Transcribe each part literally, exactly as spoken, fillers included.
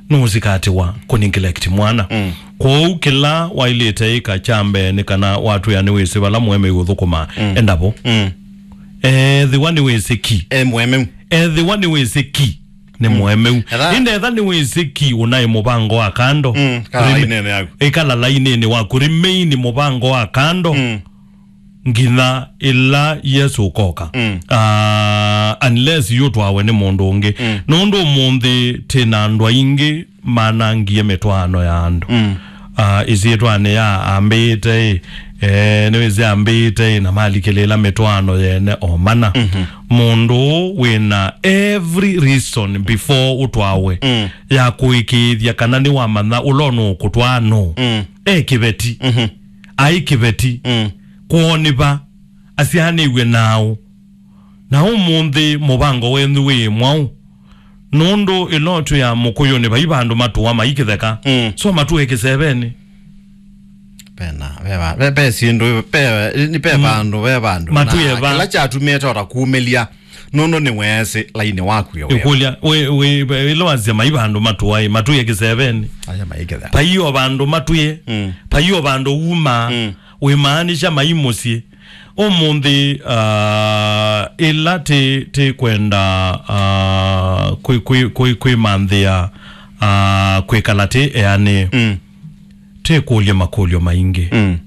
nũsikatĩwa kũneglect mwana. Mm. Kwoou kĩla waĩlĩte ĩka kya mbee nĩ kana watwĩa nĩwĩsĩ vala mũemeu ũthũkũmaa, mm, enda vo. Mm. Ethĩwa nĩwĩsĩ ki. E mũemeu. Ethĩwa nĩwĩsĩ ki nĩ, mm, mũemeu. Etha- Ĩndĩ etha nĩwĩsĩ ki ũnaĩ mũvango wa kando. Mm, kala lainĩnĩ yaku. Ĩkala lainĩnĩ waku. Remain mũvango wa kando. Mm. Nginya ĩla Yesũ ũkoka. Mm. Ah, unless yũtwawe nĩ mũndũ ũngĩ. Mm. Nũndũ ũmũnthĩ twĩ na andũ aingĩ manangie mĩtwaano ya andũ. Mm. Ah, ĩsyĩtwanĩ ya ambĩĩte ĩ, eh, nĩwĩsĩ ambĩĩte ĩ, na malikĩlĩĩla mĩtwaano yene o mana. Mm-hmm. Mũndũ ũũ wĩ na every reason before ũtwawe, mm, ya kũĩkĩĩthya kana nĩwamanya ũla ũnũũkũtwaa nũũ. Mm. E kĩveti. Mm-hmm. Aĩ kĩveti. Mm. Kwoo nĩ va? Asyaanĩw'e naaũ? Na ũmũnthĩ mũvango wenyu wĩ mwaũ? Nũndũ ĩla ũtwĩaa mũkũyũnĩ vai vandũ matũa maikĩtheka. Mm. So matũe kĩsevenĩ. Pena, ve va-, ve, ve syĩndũ, ve, ni ve, mm, vandũ, ve vandũ. Matũe na va? Kĩla kyatumĩte ota kumĩlya, nũndũ nĩweesĩ lainĩ waku yo. Ĩkũlya, wĩ, wĩ, ĩla wasya mai vandũ matũaĩ, matũe kĩsevenĩ. Aya maikĩtheka. Pai o vandũ matũe, mm, pai o vandũ uma, mm, wĩmaanisha mai mũsyĩ. Ũmũnthĩ, ah, ĩla tĩ, tĩ kwenda, ah, kwĩ, kwĩ, kwĩ, kwĩmanthĩa, ah, kwĩkala tĩ eanĩ, mm, twĩkũlye makũlyo maingĩ. Mm.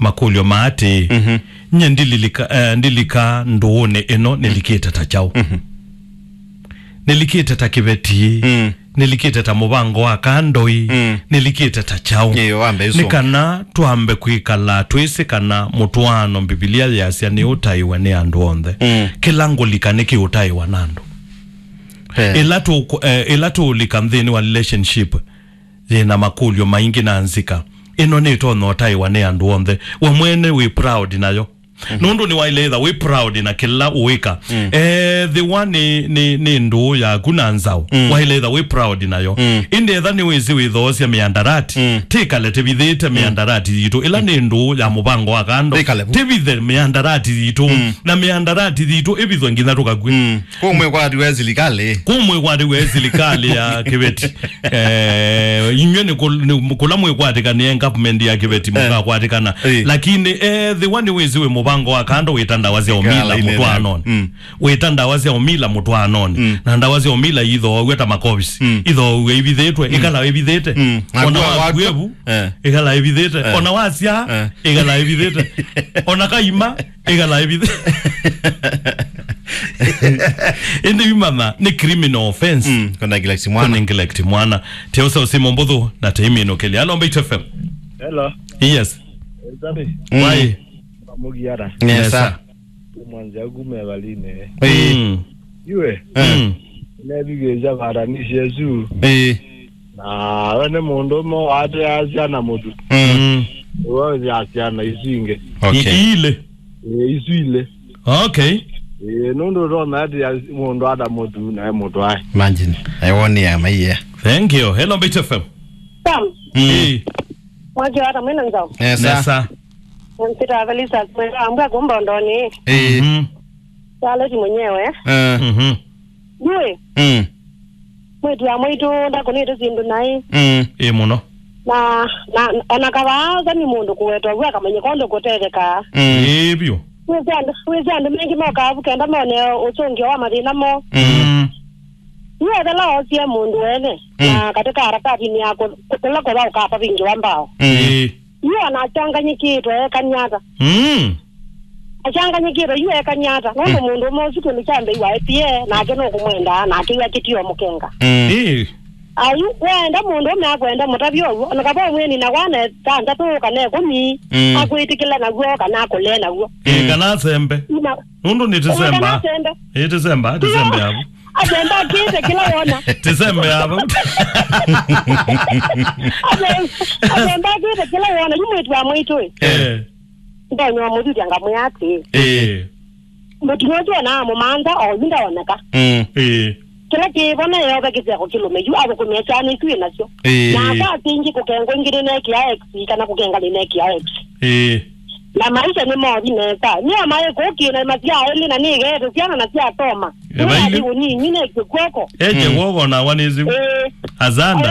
Makũlyo ma atĩĩ, mhm, nye ndililika, eh, ndilika ndũũnĩ ĩno nĩlikĩte ta kyaũ? Mhm. Nĩlikĩte ta kĩveti? Mm. Nĩlikĩte ta mũvango wa kandoi? Mm. Nĩlikĩte ta kyaũ? Ĩĩ, wambe isu. Nĩ kana twambe kwĩkala twĩsĩ kana mũtwaano Mbivilia yĩasya nĩũtaĩwe nĩ andũ onthe. Mm. Kĩla ngũlika nĩkĩũtaĩwa na andũ. Eh. Ĩla tũ-, eh, ĩla tũũlika nthĩnĩ wa relationship yĩna makũlyo maingĩ na nzika, ĩno nĩtonya ũtaĩwa nĩ andũ onthe. We mwene wĩ proud nayo. Mhm. Nũndũ nĩwaĩle ĩtha wĩ proud na kĩla ũĩka. Mm. Ethĩwa nĩ, nĩ, nĩ ndũũ yaku na nzaũ, mm, waĩle ĩtha wĩ proud nayo. Mm. Ĩndĩ etha nĩwĩsĩ wĩthoosya mĩandarati, mm, tĩkale tĩvithĩte, mm, mĩandarati yitũ. Ĩla nĩ ndũũ ya mũvango wa kando, tĩkale vu, tĩvithe mĩandarati yitũ. Mm. Na mĩandarati yitũ ĩvithwe nginya tũkakw'e. Mm. Kũ mwĩkwati wa silikalĩ? Kũ mwĩkwati wa silikalĩ ya kĩveti? Eh, inyw'ĩ nĩ kũ-, nĩ kũla mwĩkwatĩkanĩe government ya kĩveti, eh, mũkakwatĩkana. Eh. Lakini, eh, ethĩwa nĩwĩsĩ wĩ mũvango wa kando wĩta ndawa sya ũmila mũtwaanonĩ. Mm. Wĩta ndawa sya ũmila mũtwaanonĩ. Mm. Na ndawa sya ũmila ithooaw'a ta makovisi. Mm. Ithooaw'a ivithĩtwe, mm, ĩkala ĩvithĩte. Mm. Ona waku waku evu, eh, ĩkala ĩvithĩte. Eh. Ona wasya, eh, ĩkala ĩvithĩte. Ona kaima, ĩkala ĩvithĩte. Ĩndĩ imanya nĩ criminal offense. Mm, kũneglect mwana. Kũneglect mwana. Teosa ũsimo mbũthũ na teiminũkĩlya. Hello, Mbaitu F M. Hello. Yes. Sabi. Mm. Why? Mũgiara. Nesa. Nesa. Mwanzi aku me valine. Eh. Mm. Iwe. Eh. Mm. Nevikĩsya varanisi yesu. Eh. Na we nĩ mũndũ ũmwe wateaa syana mũtu. Mm. Iwe ũthea syana isu ingĩ. Okay. I-, ilĩ. Ĩĩ, isu ilĩ. Okay. Ĩĩ, nũndũ ũtonya atĩa mũndũ ata mũtu nae mũtwae? Imagine. Aiwoni ya maiya. Thank you. Hello, Mbaitu F M. Sam. Mm. Ĩĩ. Mwaki wa tamwina nzao. Nesa. Nesa. Mpita Felisa, mwenda ambwa kumbondoni. Ĩĩ. Mhm. Charlotte mwenyewe. Eh. Mhm. Ndiwe. Mm. Mwĩtu wa mwaitũ ndakũnĩte syĩndũ naĩ. Mm. Ĩ mũno. Na, na, ona kavaa nĩ mũndũ kũwetwa w'a akamanyĩka ũndũ kũtethekaa. Mm. Ĩ vyũ. Wĩsĩ andũ, wĩsĩ andũ maingĩ mokaa vu kenda mone ũsũngĩo wa mathĩna moo. Mm. Yu ethela oosie mũndũ wene, mm, na katĩ ka aratatinĩ ya kũ-, kũ-, kũla kũla ũkapa vingĩ wa mbao. Mm. Ĩ. Yu anachanganyĩkĩtwe ekany'a ata? Mm. Achanganyĩkĩtwe yu ekany'a ata? Nũndũ, mm, mũndũ ũmwe ũsu kĩndũ kya mbei wa ĩtie, nake nũkũmwendaa, nake yu akĩtio mũkenga. Mm. Ĩ. Ayu, weenda mũndũ ũme akwenda mũtavya ũw'o, ona kava ũmwĩni na wana thanthatũ kana ĩkũmi, mm, akwĩtĩkĩla naw'o kana akũlee naw'o. Ĩ, mm, kana asembe. Ina- Nũndũ nĩ tĩsemba. Kana asembe. Ĩ, tĩsemba, tĩsembe avu. Asembe akĩte kĩla wona. Tĩsembe avu. Asem-, asembe akĩte kĩla wona. Yu mwĩtu wa mwaitũ ĩ. Eh. Ndonya mũthuthya ngamwĩa atĩ. Eh. Mũtumĩa ũsu ona amũmantha, o yu ndaoneka. Mm. Eh. Kĩla kĩvo na yove kĩseko kĩlũme yu athũkũmĩe syana isu ĩ nasyo. Eh. Na aka asingi kũkengwa ingĩ nĩnekĩa X kana kũkenga nĩnekĩa X. Eh. Na maisha nĩ mothi nesa. Nĩ amaĩ kũkĩna masya elĩ na nĩgeete syana na syasoma. Eh, nĩ vai- athi ũnini nĩ kw'oko. Eje, mm, kw'oko na wanĩsĩ. Eh. Azanda.